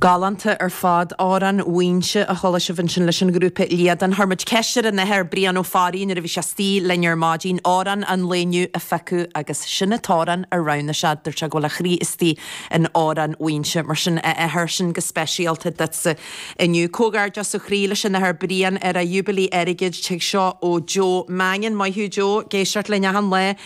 Galánta ar fad. Amhrán Mhaínse a chuala sibh ansin leis an ghrúpa Líadan. Chuir muid ceist ar an Athair Brian Ó Fearraigh nuair a bhí sé istigh linn ar maidin amhrán an lae inniu a phiocadh agus sin an t-amhrán a roghnaigh sé. Dúirt sé go bhfuil a chroí istigh in amhrán Mhaínse. Mar sin, a Athair, sin go speisialta duitse inniu. Comhghairdeas ó chroí leis an Athair Brian ar a Jubilee Airgid. Tig seo ó Joe Mannion. Maith thú Joe, ag éisteacht linn achan lá.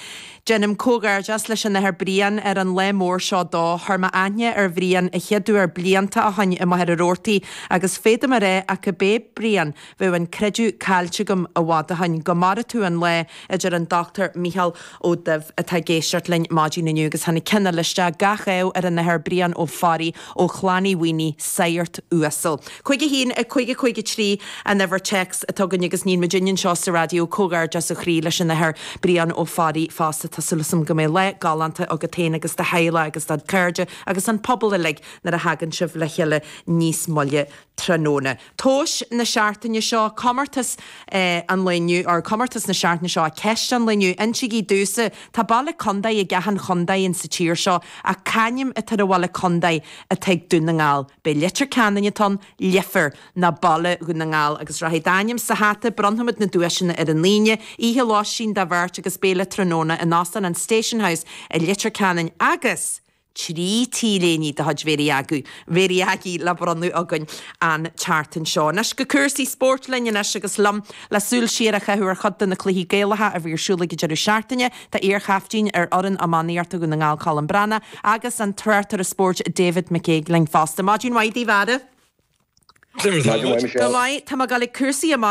Déanaim comhghairdeas leis an Athair Brian ar an lá mór seo dó. Chuir mé aithne ar Bhrian a chéad uair blianta ó shoin i Machaire Rabhartaigh agus féadaim a rá ach gurb é Brian, bheadh an creideamh caillte agam i bhfad ó shoin. Go maire tú an lá, a deir an Dr Mícheál Ó Duibh atá ag éisteacht linn maidin inniu agus tháinig ceann eile isteach, gach ádh ar an Athair Brian Ó Fearraigh ó Chlann Uí Mhaonaigh, Saghart uasal. 51 5 53 an uimhir téacs atá againn agus níonn muidinne anseo sa raidió comhghairdeas ó chroí leis an Athair Brian Ó Fearraigh fosta. Tá súil agam go mbeidh lá galánta agat féin agus do theaghlach agus do chairde agus an pobal uilig nuair a thagann sibh le chéile níos moille tráthnóna. Tomhas na seachtaine seo, comórtas an lae inniu, or comórtas na seachtaine seo, ceist an lae inniu, insígí domhsa, tá baile contae ag achan chontae in sa tír seo, ach c'ainm atá ar an bhaile contae atá ag Dún na nGall? B'é Leitir Ceanainn atá ann, Leifear, nó Baile Dhún na nGall agus rachaidh d'ainm sa hata, bronnfaimid na duaiseanna ar an Aoine, oíche lóistín do bheirt agus béile tráthnóna in Óstán an Station House i Leitir Ceanainn agus. 3 T-léine de chuid Mhéirí Aggie, Mhéirí Aggie le bronnadh againn an tseachtain seo. Anois go cúrsaí spóirt linn anois agus liom le súil siar a chaitheamh ar chuid de na cluichí Gaelacha a bhí ar siúl ag an deireadh seachtaine, tá iar-chaiftín ar fhoireann iománaíochta Dhún na nGall Colm Breathnach agus an tráchtaire spóirt David McCague linn fosta. Maidin mhaith daoibh a fheara. Maidin mhaith Michelle. Go maith, tá mé ag dul ag cúrsaí iománaíochta.